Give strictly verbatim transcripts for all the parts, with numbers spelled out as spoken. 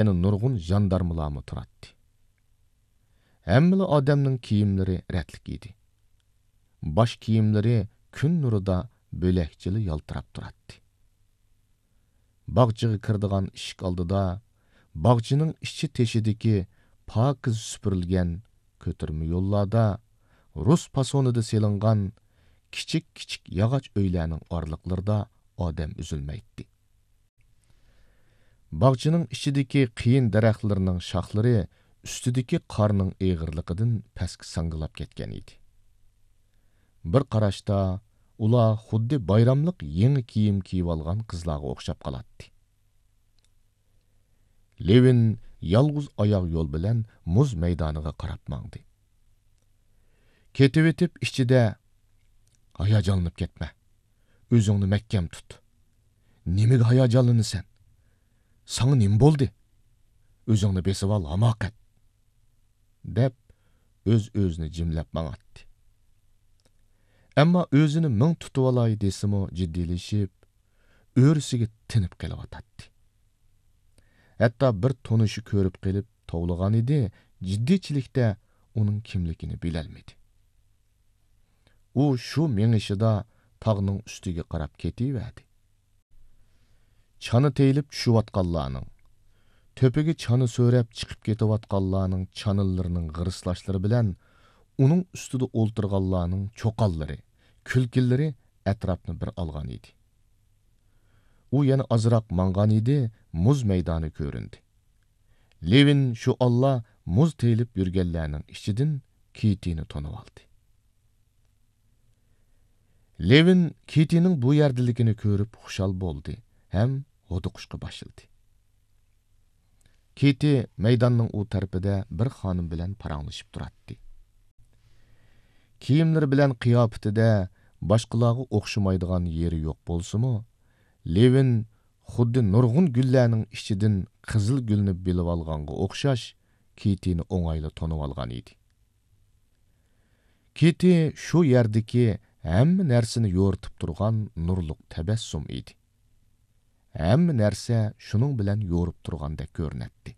يەنە نۇرغۇن ژاندارمىلارمۇ تۇراتتى. ھەممىلا ئادەمنىڭ كىيىملىرى رەتلىك ئىدى. باش كىيىملىرى كۈن نۇرىدا بۆلەكچىلا يالتىراپ تۇراتتى. باغچىغا كىرىدىغان ئىشىك ئالدىدا، باغچىنىڭ ئىچى تېشىدىكى پاكىز سۈپۈرۈلگەن كۆتۈرمە يوللاردا، رۇس پاسونىدا سېلىنغان كىچىك-كىچىك ياغاچ ئۆيلەرنىڭ ئارىلىقلىرىدا ئادەم ئۈزۈلمەيتتى. باغچىنىڭ ئىچىدىكى قېيىن دەرەخلىرىنىڭ شاخلىرى ئۈستىدىكى قارنىڭ ئېغىرلىقىدىن پەسكە ساڭگىلاپ كەتكەن ئىدى. بىر قاراشتا ئۇلار خۇددى بايراملىق يېڭى كىيىم كىيىۋالغان قىزلارغا ئوخشاپ قالاتتى. لېۋىن يالغۇز ئاياغ يول بىلەن مۇز مەيدانىغا قاراپ ماڭدى. كېتىۋېتىپ ئىچىدە، «ھاياجانلىنىپ كەتمە. ئۆزۈڭنى مەھكەم تۇت. نېمىگە ھاياجانلىنىسەن؟ ساڭا نېمە بولدى؟ ئۆزۈڭنى بېسىۋال، ھاماقەت!» دەپ، ئۆز-ئۆزىنى جىملەپ ماڭاتتى. ئەمما ئۆزىنى مىڭ تۇتۇۋالاي دېسىمۇ جىددىيلىشىپ، ئۆرىسىگە تىنىپ قېلىۋاتاتتى. ھەتتا بىر تونۇشى كۆرۈپ قېلىپ توۋلىغانىدى، جىددىيچىلىكتە ئۇنىڭ كىملىكىنى بىلەلمىدى. ئۇ شۇ مېڭىشىدا تاغنىڭ ئۈستىگە قاراپ كېتىۋەردى. چانا تېيىلىپ چۈشۈۋاتقانلارنىڭ، تۆپىگە چانا سۆرەپ چىقىپ كېتىۋاتقانلارنىڭ چانىلىرىنىڭ غىرىسلاشلىرى بىلەن ئۇنىڭ ئۈستىدە ئولتۇرغانلارنىڭ چوقانلىرى، كۈلكىلىرى ئەتراپنى بىر ئالغان ئىدى. ئۇ يەنە ئازراق ماڭغان ئىدى، مۇز مەيدانى كۆرۈندى. لېۋىن شۇ ئاللا مۇز تېيىلىپ يۈرگەنلەرنىڭ ئىچىدىن كېتىنى تونۇۋالدى. لېۋىن كېتىنىڭ بۇ يەردىلىكىنى كۆرۈپ خۇشال بولدى ھەم ھودۇقۇشقا باشلىدى. كېتى مەيداننىڭ ئۇ تەرىپىدە بىر خانىم بىلەن پاراڭلىشىپ تۇراتتى. كىيىملىرى بىلەن قىياپىتىدە باشقىلارغا ئوخشىمايدىغان يېرى يوق بولسىمۇ، لېۋىن خۇددى نۇرغۇن گۈللەرنىڭ ئىچىدىن قىزىل گۈلنى بىلىۋالغانغا ئوخشاش كېتىنى ئوڭايلا تونۇۋالغان ئىدى. كېتى شۇ يەردىكى ھەممە نەرسىنى يورۇتۇپ تۇرغان نۇرلۇق تەبەسسۇم ئىدى. ھەممە نەرسە شۇنىڭ بىلەن يورۇپ تۇرغاندەك كۆرۈنەتتى.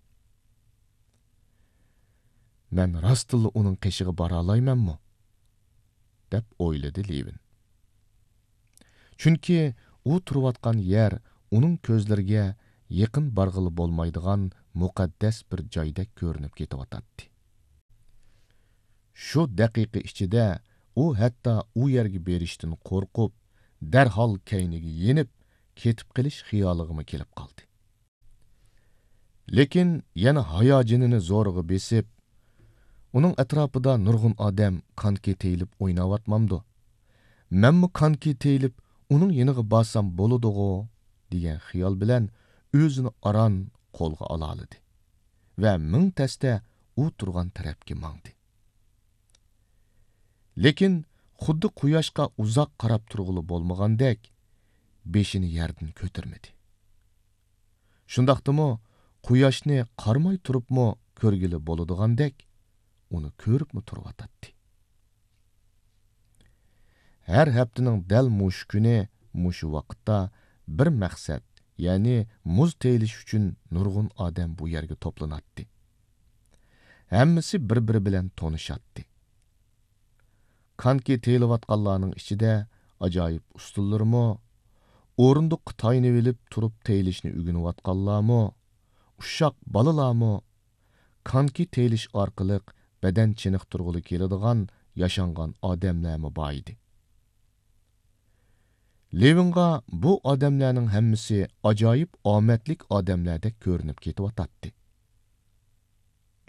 «مەن راستتىنلا ئۇنىڭ قېشىغا بارالايمەنمۇ؟» دەپ ئويلىدى لېۋىن. چۈنكى ئۇ تۇرۇۋاتقان يەر ئۇنىڭ كۆزلىرىگە يېقىن بارغىلى بولمايدىغان مۇقەددەس بىر جايدەك كۆرۈنۈپ كېتىۋاتاتتى. شۇ دەقىقە ئىچىدە ئۇ ھەتتا ئۇ يەرگە بېرىشتىن قورقۇپ، دەرھال كەينىگە يېنىپ، كېتىپ قېلىش خىيالىغىمۇ كېلىپ قالدى. لېكىن يەنە ھاياجىنىنى زورىغا بېسىپ، «ئۇنىڭ ئەتراپىدا نۇرغۇن ئادەم كانكى تېيىلىپ ئويناۋاتمامدۇ؟ مەنمۇ كانكى تېيىلىپ ئۇنىڭ يېنىغا بارسام بولىدىغۇ» دېگەن خىيال بىلەن ئۆزىنى ئاران قولغا ئالالىدى ۋە مىڭ تەستە ئۇ تۇرغان تەرەپكە ماڭدى. لېكىن خۇددى قۇياشقا ئۇزاق قاراپ تۇرغىلى بولمىغاندەك، بېشىنى يەردىن كۆتۈرمىدى. شۇنداقتىمۇ قۇياشنى قارىماي تۇرۇپمۇ كۆرگىلى بولىدىغاندەك، ئۇنى كۆرۈپمۇ تۇرۇۋاتاتتى. ھەر ھەپتىنىڭ دەل مۇشۇ كۈنى، مۇشۇ ۋاقىتتا بىر مەقسەت، يەنى مۇز تېيىلىش ئۈچۈن نۇرغۇن ئادەم بۇ يەرگە توپلىناتتى. ھەممىسى بىر-بىرى بىلەن تونۇشاتتى. كانكى تېيىلىۋاتقانلارنىڭ ئىچىدە ئاجايىپ ئۇستىلىرىمۇ، ئورۇندۇققا تايىنىۋېلىپ تۇرۇپ تېيىلىشنى ئۆگىنىۋاتقانلارمۇ، ئۇششاق بالىلارمۇ، كانكى تېيىلىش ئارقىلىق بەدەن چېنىقتۇرغىلى كېلىدىغان ياشانغان ئادەملەرمۇ بار ئىدى. لېۋىنغا بۇ ئادەملەرنىڭ ھەممىسى ئاجايىپ ئامەتلىك ئادەملەردەك كۆرۈنۈپ كېتىۋاتاتتى.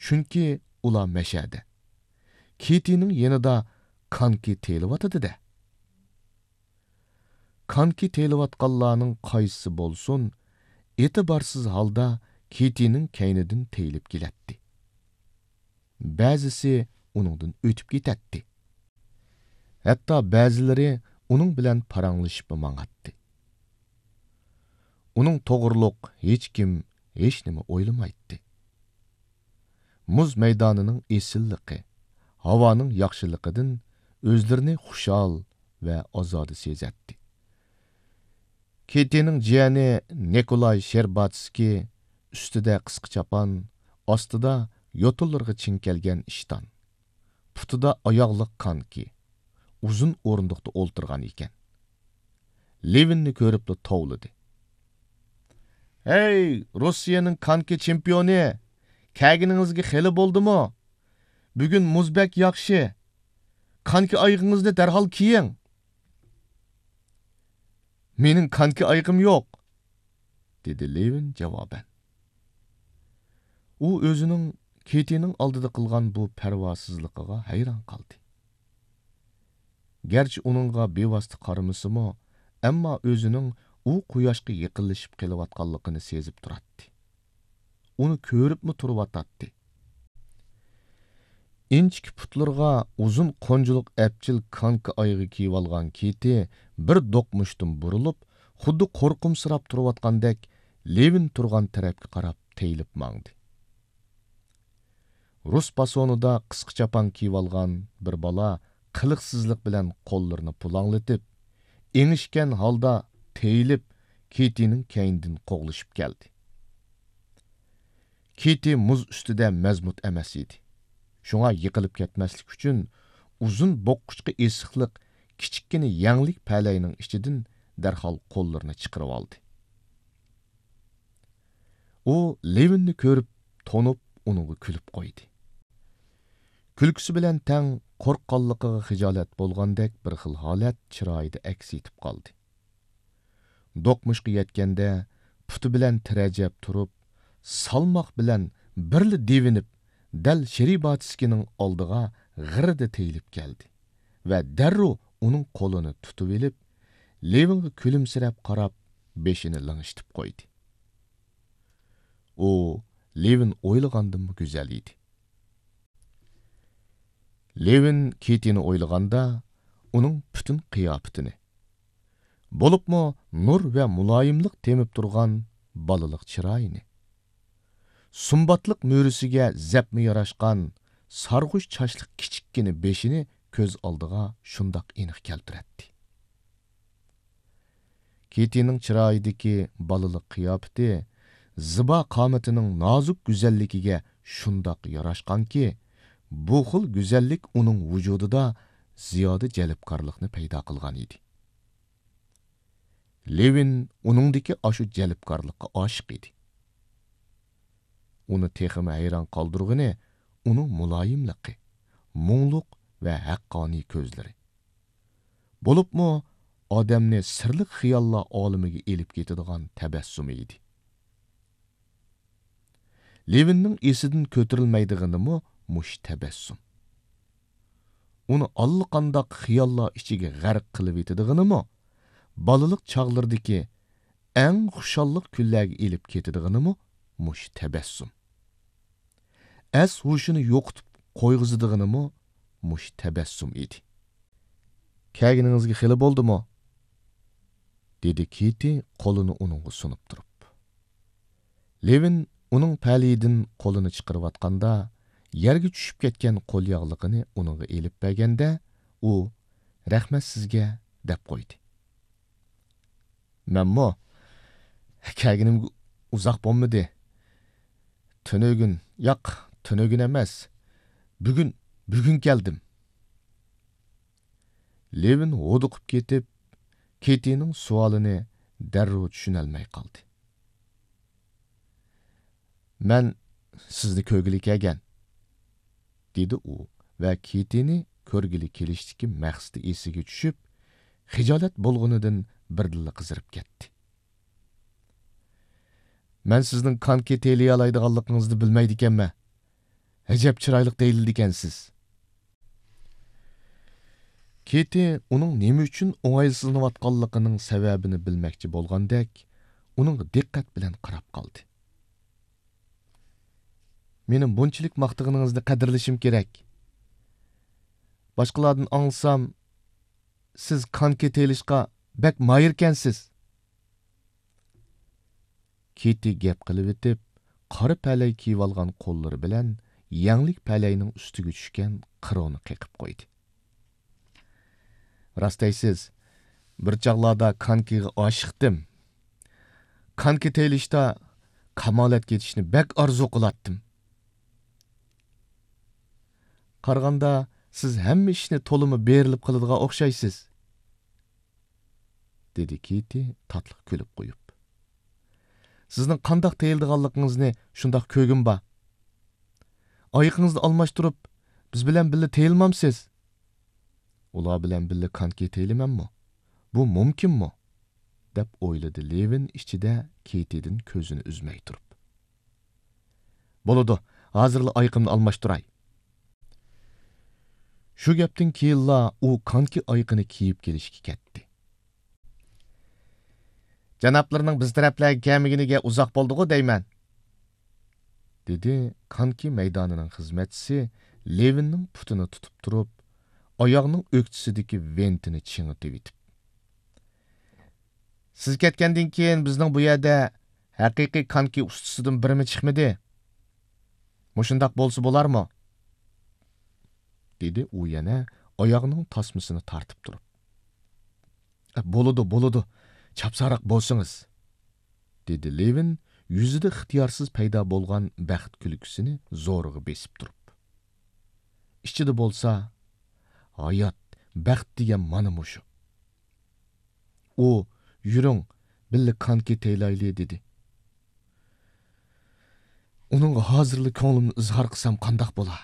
چۈنكى ئۇلار مەشەدە، كېتىنىڭ يېنىدا كانكى تېيىلىۋاتىدۇ-دە. كانكى تېيىلىۋاتقانلارنىڭ قايسىسى بولسۇن، ئېتىبارسىز ھالدا كېتىنىڭ كەينىدىن تېيىلىپ كېلەتتى. بەزىسى ئۇنىڭدىن ئۆتۈپ كېتەتتى. ھەتتا بەزىلىرى ئۇنىڭ بىلەن پاراڭلىشىپمۇ ماڭاتتى. ئۇنىڭ توغرۇلۇق ھېچكىم ھېچنېمە ئويلىمايتتى. مۇز مەيدانىنىڭ ئېسىللىقى، ھاۋانىڭ ياخشىلىقىدىن ئۆزلىرىنى خۇشال ۋە ئازادە سېزەتتى. كېتىنىڭ جىيەنى نىكولاي شېرباتسكىي ئۈستىدە قىسقا چاپان، ئاستىدا يوتۇنلىرىغا چىڭ كەلگەن ئىشتان، پۇتىدا ئاياغلىق كانكى، ئۇزۇن ئورۇندۇقتا ئولتۇرغان ئىكەن. لېۋىننى كۆرۈپلا توۋلىدى. «ھەي، روسىيەنىڭ كانكى چېمپىيونى! كەلگىنىڭىزگە خېلى بولدىمۇ؟ بۈگۈن مۇز بەك ياخشى. كانكى ئايىغىڭىزنى دەرھال كىيىڭ.» «مېنىڭ كانكى ئايىغىم يوق»، دېدى لېۋىن جاۋابەن. ئۇ ئۆزىنىڭ كېتىنىڭ ئالدىدا قىلغان بۇ پەرۋاسىزلىقىغا ھەيران قالدى. گەرچە ئۇنىڭغا بىۋاسىتە قارىمىسىمۇ، ئەمما ئۆزىنىڭ ئۇ قۇياشقا يېقىنلىشىپ قېلىۋاتقانلىقىنى سېزىپ تۇراتتى. ئۇنى كۆرۈپمۇ تۇرۇۋاتاتتى. ئىنچىكە پۇتلىرىغا ئۇزۇن قونجىلىق ئەپچىل كانكا ئايىغى كىيىۋالغان كېتى بىر دوقمۇشتىن بۇرۇلۇپ، خۇددى قورقۇمسىراپ تۇرۇۋاتقاندەك لېۋىن تۇرغان تەرەپكە قاراپ تېيىلىپ ماڭدى. رۇس پاسونىدا قىسقا چاپان كىيىۋالغان بىر بالا قىلىقسىزلىق بىلەن قوللىرىنى پۇلاڭلىتىپ، ئېڭىشكەن ھالدا تېيىلىپ، كېتىنىڭ كەينىدىن قوغلىشىپ كەلدى. كېتى مۇز ئۈستىدە مەزمۇت ئەمەس ئىدى. شۇڭا يىقىلىپ كەتمەسلىك ئۈچۈن، ئۇزۇن بوغقۇچقا ئېسىقلىق كىچىككىنە يەڭلىك پەلەينىڭ ئىچىدىن دەرھال قوللىرىنى چىقىرىۋالدى. ئۇ لېۋىننى كۆرۈپ، تونۇپ، ئۇنىڭغا كۈلۈپ قويدى. كۈلكىسى بىلەن تەڭ قورققانلىقىغا خىجالەت بولغاندەك بىر خىل ھالەت چىرايىدا ئەكس ئېتىپ قالدى. دوقمۇشقا يەتكەندە، پۇتى بىلەن تىرەجەپ تۇرۇپ، سالماق بىلەن بىرلا دېۋىنىپ، دەل شېرىباتسكىنىڭ ئالدىغا غىررىدە تېيىلىپ كەلدى ۋە دەررۇ ئۇنىڭ قولىنى تۇتۇۋېلىپ، لېۋىنغا كۈلۈمسىرەپ قاراپ، بېشىنى لىڭشىتىپ قويدى. ئۇ لېۋىن ئويلىغاندىنمۇ گۈزەل ئىدى. لېۋىن كېتىنى ئويلىغاندا، ئۇنىڭ پۈتۈن قىياپىتىنى، بولۇپمۇ نۇر ۋە مۇلايىملىق تېمىپ تۇرغان بالىلىق چىرايىنى، سۇمباتلىق مۈرىسىگە زەپمۇ ياراشقان سارغۇچ چاچلىق كىچىككىنە بېشىنى كۆز ئالدىغا شۇنداق ئېنىق كەلتۈرەتتى. كېتىنىڭ چىرايىدىكى بالىلىق قىياپىتى، زىبا قامىتىنىڭ نازۇك گۈزەللىكىگە شۇنداق ياراشقانكى، بۇ خىل گۈزەللىك ئۇنىڭ ۋۇجۇدىدا زىيادە جەلپكارلىقنى پەيدا قىلغان ئىدى. لېۋىن ئۇنىڭدىكى ئاشۇ جەلپكارلىققا ئاشىق ئىدى. ئۇنى تېخىمۇ ھەيران قالدۇرغىنى ئۇنىڭ مۇلايىملىقى، مۇڭلۇق ۋە ھەققانىي كۆزلىرى. بولۇپمۇ ئادەمنى سىرلىق خىياللار ئالىمىگە ئېلىپ كېتىدىغان تەبەسسۇمى ئىدى. لېۋىننىڭ ئېسىدىن كۆتۈرۈلمەيدىغىنىمۇ مۇشۇ تەبەسسۇم. ئۇنى ئاللىقانداق خىياللار ئىچىگە غەرق قىلىۋېتىدىغىنىمۇ، بالىلىق چاغلىرىدىكى ئەڭ خۇشاللىق كۈنلەرگە ئېلىپ كېتىدىغىنىمۇ مۇشۇ تەبەسسۇم. ئەس ھوشىنى يوقىتىپ قويغۇزىدىغىنىمۇ مۇشۇ تەبەسسۇم ئىدى. «كەلگىنىڭىزگە خېلى بولدىمۇ؟» دېدى كېتى قولىنى ئۇنىڭغا سۇنۇپ تۇرۇپ. لېۋىن ئۇنىڭ پەلىيىدىن قولىنى چىقىرىۋاتقاندا، يەرگە چۈشۈپ كەتكەن قولياغلىقىنى ئۇنىڭغا ئېلىپ بەرگەندە، ئۇ «رەھمەت سىزگە» دەپ قويدى. مەنمۇ كەلگىنىمگە ئۇزاق بولمىدى. تۈنۈگۈن، ياق، تۈنۈگۈن ئەمەس. بۈگۈن، بۈگۈن كەلدىم. لېۋىن ھودۇقۇپ كېتىپ، كېتىنىڭ سوئالىنى دەررۇ چۈشىنەلمەي قالدى. مەن سىزنى كۆرگىلى كەلگەن، دېدى ئۇ ۋە كېتىنى كۆرگىلى كېلىشتىكى مەقسىتى ئېسىگە چۈشۈپ، خىجالەت بولغىنىدىن بىردىنلا قىزىرىپ كەتتى. مەن سىزنىڭ كانكى تېيىلىيالايدىغانلىقىڭىزنى بىلمەيدىكەنمەن. ئەجەب چىرايلىق تېيىلىدىكەنسىز. كېتى ئۇنىڭ نېمە ئۈچۈن ئوڭايسىزلىنىۋاتقانلىقىنىڭ سەۋەبىنى بىلمەكچى بولغاندەك، ئۇنىڭغا دىققەت بىلەن قاراپ قالدى. مېنى بۇنچىلىك ماختىغىنىڭىزنى قەدىرلىشىم كېرەك. باشقىلاردىن ئاڭلىسام، سىز كانكى تېيىلىشقا بەك ماھىركەنسىز. كېتى گەپ قىلىۋېتىپ، قارا پەلەي كىيىۋالغان قوللىرى بىلەن يەڭلىك پەلەينىڭ ئۈستىگە چۈشكەن قىرونى قېقىپ قويدى. راست دەيسىز، بىر چاغلاردا كانكىغا ئاشىقتىم. كانكى تېيىلىشتا كامالەتكە يېتىشنى بەك ئارزۇ قىلاتتىم. قارىغاندا، سىز ھەممە ئىشنى تولىمۇ بېرىلىپ قىلىدىغان ئوخشايسىز، دېدى كېتى تاتلىق كۈلۈپ قويۇپ. سىزنىڭ قانداق تېيىلىدىغانلىقىڭىزنى شۇنداق كۆرگۈم بار. ئايىقىڭىزنى ئالماشتۇرۇپ، بىز بىلەن بىللە تېيىلمامسىز؟ ئۇلار بىلەن بىللە كانكى تېيىلىمەنمۇ؟ بۇ مۇمكىنمۇ؟ دەپ ئويلىدى لېۋىن ئىچىدە كېتىدىن كۆزىنى ئۈزمەي تۇرۇپ. بولىدۇ، ھازىرلا ئايىقىمنى ئالماشتۇراي. شۇ گەپتىن كېيىنلا ئۇ كانكى ئايىقىنى كىيىپ كېلىشكە كەتتى. جانابلىرىنىڭ بىز تەرەپلەرگە كەلمىگىنىگە ئۇزاق بولدىغۇ دەيمەن، دېدى كانكى مەيدانىنىڭ خىزمەتچىسى لېۋىننىڭ پۇتىنى تۇتۇپ تۇرۇپ، ئاياغنىڭ ئۆكتىسىدىكى ۋېنتىنى چىڭىتىۋېتىپ. سىز كەتكەندىن كېيىن بىزنىڭ بۇ يەردە ھەقىقىي كانكى ئۇستىسىدىن بىرىمۇ چىقمىدى. مۇشۇنداق بولسا بولارمۇ؟ دېدى ئۇ يەنە ئاياغنىڭ تاسمىسىنى تارتىپ تۇرۇپ. بولىدۇ، بولىدۇ، چاپسانراق بولسىڭىز، دېدى لېۋىن يۈزىدە ئىختىيارسىز پەيدا بولغان بەخت كۈلكىسىنى زورىغا بېسىپ تۇرۇپ. ئىچىدە بولسا، ھايات، بەخت دېگەن مانا مۇشۇ. ئۇ، يۈرۈڭ، بىللە كانكى تېيىلايلى، دېدى. ئۇنىڭغا ھازىرلا كۆڭلۈمنى ئىزھار قىلسام قانداق بولا؟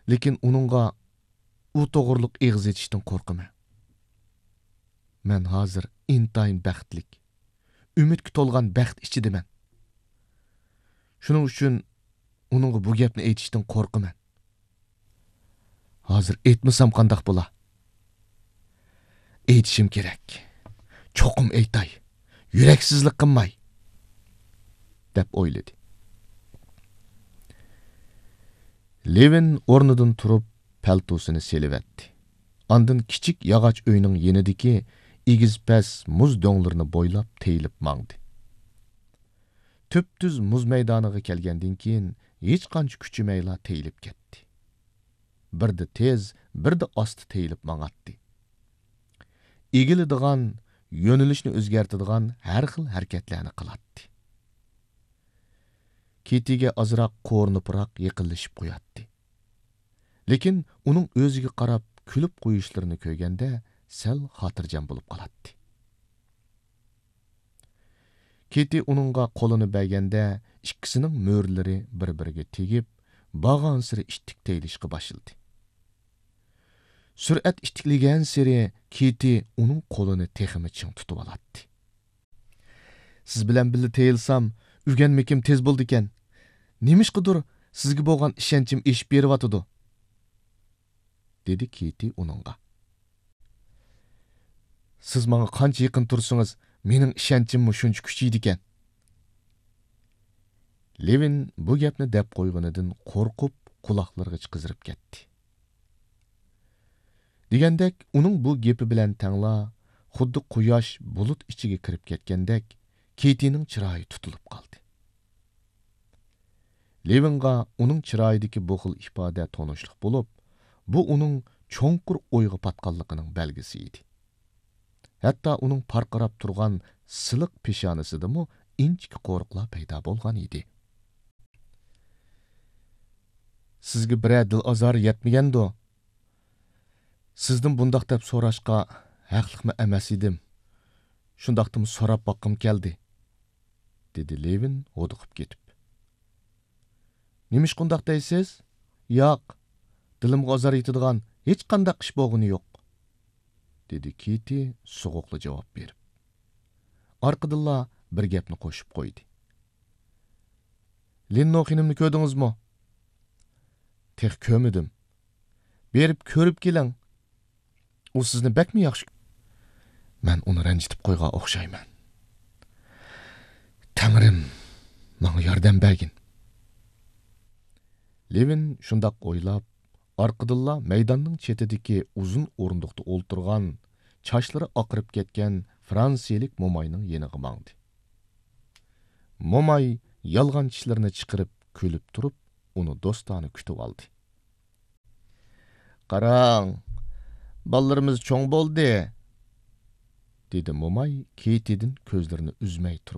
لېكىن ئۇنىڭغا ئۇ توغرۇلۇق ئېغىز ئېچىشتىن قورقىمەن. مەن ھازىر ئىنتايىن بەختلىك، ئۈمىدكە تولغان بەخت ئىچىدىمەن. شۇنىڭ ئۈچۈن ئۇنىڭغا بۇ گەپنى ئېيتىشتىن قورقىمەن. ھازىر ئېيتمىسام قانداق بولا؟ ئېيتىشىم كېرەك. چوقۇم ئېيتاي. يۈرەكسىزلىك قىلماي، دەپ ئويلىدى. لېۋىن ئورنىدىن تۇرۇپ، پەلتوسىنى سېلىۋەتتى. ئاندىن كىچىك ياغاچ ئۆينىڭ يېنىدىكى ئېگىز-پەس مۇز دۆڭلىرىنى بويلاپ تېيىلىپ ماڭدى. تۈپتۈز مۇز مەيدانىغا كەلگەندىن كېيىن، ھېچقانچە كۈچىمەيلا تېيىلىپ كەتتى. بىردە تېز، بىردە ئاستا تېيىلىپ ماڭاتتى. ئېگىلىدىغان، يۆنىلىشنى ئۆزگەرتىدىغان ھەر خىل ھەرىكەتلەرنى قىلاتتى. كېتىگە ئازراق قورۇنۇپراق يېقىنلىشىپ قوياتتى. لېكىن ئۇنىڭ ئۆزىگە قاراپ كۈلۈپ قويۇشلىرىنى كۆرگەندە سەل خاتىرجەم بولۇپ قالاتتى. كېتى ئۇنىڭغا قولىنى بەرگەندە، ئىككىسىنىڭ مۈرىلىرى بىر-بىرىگە تېگىپ، بارغانسېرى ئىتتىك تېيىلىشقا باشلىدى. سۈرئەت ئىتتىكلىگەنسېرى كېتى ئۇنىڭ قولىنى تېخىمۇ چىڭ تۇتۇۋالاتتى. سىز بىلەن بىللە تېيىلسام، ئۆگەنمىكىم تېز بولىدىكەن. نېمىشقىدۇر سىزگە بولغان ئىشەنچىم ئېشىپ بېرىۋاتىدۇ، دېدى كېتى ئۇنىڭغا. سىز ماڭا قانچە يېقىن تۇرسىڭىز، مېنىڭ ئىشەنچىممۇ شۇنچە كۈچىيىدىكەن. لېۋىن بۇ گەپنى دەپ قويغىنىدىن قورقۇپ، قۇلاقلىرىغىچە قىزىرىپ كەتتى. دېگەندەك، ئۇنىڭ بۇ گېپى بىلەن تەڭلا، خۇددى قۇياش بۇلۇت ئىچىگە كىرىپ كەتكەندەك، كېتىنىڭ چىرايى تۇتۇلۇپ قالدى. لېۋىنغا ئۇنىڭ چىرايىدىكى بۇ خىل ئىپادە تونۇشلۇق بولۇپ، بۇ ئۇنىڭ چوڭقۇر ئويغا پاتقانلىقىنىڭ بەلگىسى ئىدى. ھەتتا ئۇنىڭ پارقىراپ تۇرغان سىلىق پېشانىسىدىمۇ ئىنچىكە قورۇقلار پەيدا بولغان ئىدى. سىزگە بىرەر دىل ئازارى يەتمىگەندۇ؟ سىزدىن بۇنداق دەپ سوراشقا ھەقلىقمۇ ئەمەس ئىدىم. شۇنداقتىمۇ سوراپ باققۇم كەلدى، دېدى لېۋىن ھودۇقۇپ كېتىپ. نېمىشقا ئۇنداق دەيسىز؟ ياق، دىلىمغا ئازار يېتىدىغان ھېچقانداق ئىش بولغىنى يوق، دېدى كېتى سوغۇقلا جاۋاب بېرىپ. ئارقىدىنلا بىر گەپنى قوشۇپ قويدى. لىننو خېنىمنى كۆردىڭىزمۇ؟ تېخى كۆرمىدىم. بېرىپ كۆرۈپ كېلىڭ. ئۇ سىزنى بەكمۇ ياخشى. مەن ئۇنى رەنجىتىپ قويغان ئوخشايمەن. تەڭرىم، ماڭا ياردەم بەرگىن. لېۋىن شۇنداق ئويلاپ، ئارقىدىنلا مەيداننىڭ چېتىدىكى ئۇزۇن ئورۇندۇقتا ئولتۇرغان، چاچلىرى ئاقىرىپ كەتكەن فرانسىيىلىك موماينىڭ يېنىغا ماڭدى. موماي يالغان چىشلىرىنى چىقىرىپ كۈلۈپ تۇرۇپ، ئۇنى دوستانە كۈتۈۋالدى. قاراڭ، بالىلىرىمىز چوڭ بولدى، دېدى موماي كېتىدىن كۆزلىرىنى ئۈزمەي تۇرۇپ.